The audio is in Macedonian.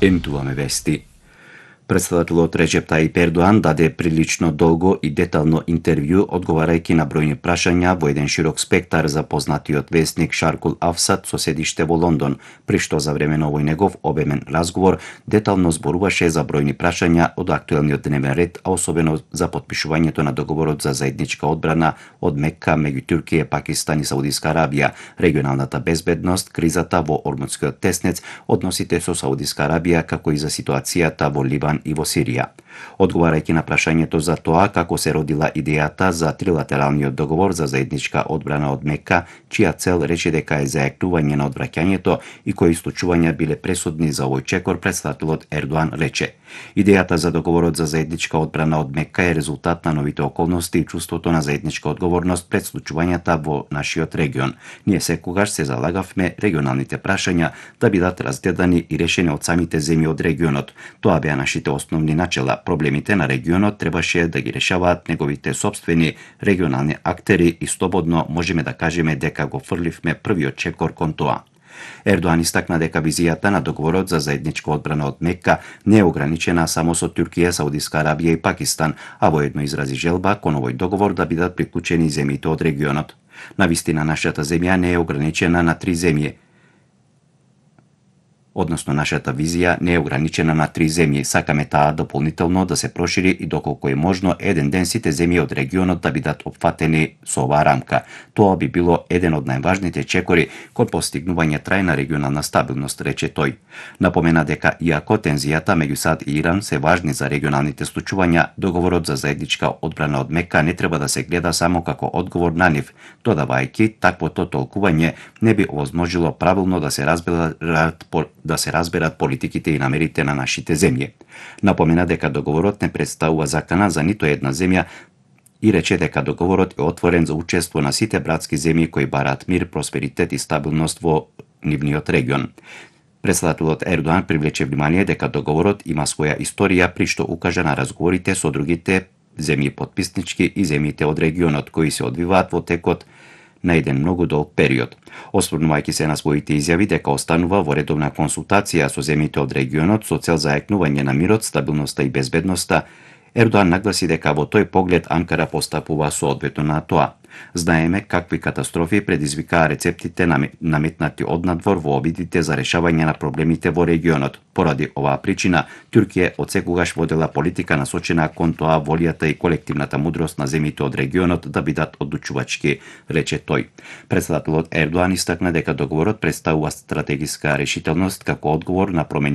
Ентуваме вести. Председателот Реджеп Тајип Ердоан даде прилично долго и детално интервју одговарајќи на бројни прашања во еден широк спектар за познатиот вестник Шаркул Афсад со седиште во Лондон, при што за време на овој негов обемен разговор детално зборуваше за бројни прашања од актуелниот дневен ред, а особено за потпишувањето на договорот за заедничка одбрана од Мекка меѓу Туркија, Пакистан и Саудиска Арабија, регионалната безбедност, кризата во Ормудскиот теснец, односите со Саудиска Арабија, како и за ситуацијата во Ливан и во Сирија. Одговарајќи на прашањето за тоа како се родила идејата за трилатералниот договор за заедничка одбрана од Мекка, чија цел рече дека е зајакнување на одвраќањето и кои случувања биле пресудни за овој чекор, председателот Ердоан рече: идејата за договорот за заедничка одбрана од Мекка е резултат на новите околности и чувството на заедничка одговорност пред случувањата во нашиот регион. Ние секогаш се залагавме регионалните прашања да бидат разгледани и решени од самите земји од регионот. Тоа беа нашите основни начела. Проблемите на регионот требаше да ги решаваат неговите сопствени регионални актери и слободно можеме да кажеме дека го фрливме првиот чекор кон тоа. Ердоан истакна дека визијата на договорот за заедничка одбрана од Мекка не е ограничена само со Туркија, Саудиска Арабија и Пакистан, а воедно изрази желба кон овој договор да бидат приклучени земјите од регионот. Навистина нашата земја не е ограничена на 3 земји. Односно, нашата визија не е ограничена на 3 земји. Сакаме таа дополнително да се прошири и доколку е можно еден ден сите земји од регионот да бидат опфатени со оваа рамка. Тоа би било еден од најважните чекори кон постигнување трајна регионална стабилност, рече тој. Напомена дека иако тензијата меѓу САД и Иран се важни за регионалните случувања, договорот за заедничка одбрана од Мекка не треба да се гледа само како одговор на нив, додавајќи таквото толкување не би овозможило правилно да се разберат политиките и намерите на нашите земји. Напомена дека договорот не представува закана за нито една земја и рече дека договорот е отворен за учество на сите братски земји кои бараат мир, просперитет и стабилност во нивниот регион. Председателот Ердоан привлече внимание дека договорот има своја историја, при што укажа на разговорите со другите земји потписнички и земјите од регионот кои се одвиваат во текот на еден многу долг период. Осврнувајќи се на своите изјави дека останува во редовна консултација со земјите од регионот со цел зајакнување на мирот, стабилноста и безбедноста, Ердоан нагласи дека во тој поглед Анкара постапува соодветно на тоа. Знаеме какви катастрофи предизвикаа рецептите наметнати однадвор во обидите за решавање на проблемите во регионот. Поради оваа причина, Туркија одсекогаш водела политика насочена кон тоа волјата и колективната мудрост на земјите од регионот да бидат одлучувачки, рече тој. Председателот Ердоан истакна дека договорот представува стратегиска решителност како одговор на промени